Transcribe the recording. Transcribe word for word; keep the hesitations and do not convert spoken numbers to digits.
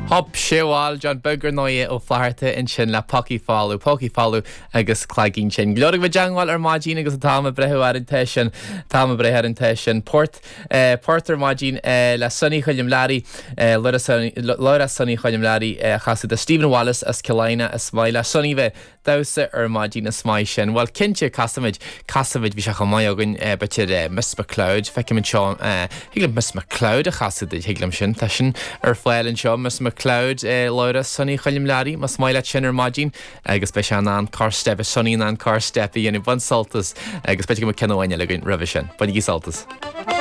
Hop sé bhil John Beag ar ndóigh Ó Flatharta ansin le Pócaí Folamh, Pócaí Folamh agus Cloigín Tinn. Go leor ag teagmháil ar maidin agus atá ag breathnú ar an té sin tá ag breathnú ar an té sin port eh, port ar maidin eh, le Sonny Choilm Learaí eh, Laura Sonny Choilm Learaí a chasadh do Stephen Wallace as Cill Airne is maith le Sonny bheith damhsa ar maidin is maith sin. Well cinnte casfaimid casfaimid bhí sé chomh maith againn b'fhéidir Miss McCloud feicim anseo thig liom Miss McCloud a chasadh thig liom sin tá sin ar fáil anseo Miss McCloud Laura Sonny Choilm Learaí más maith leat sin ar maidin agus beidh sé an car step Sonny an car step a dhéanamh bain sult as agus b'fhéidir go ceann amháin eile againn roimhe sin. Bainigí sult as.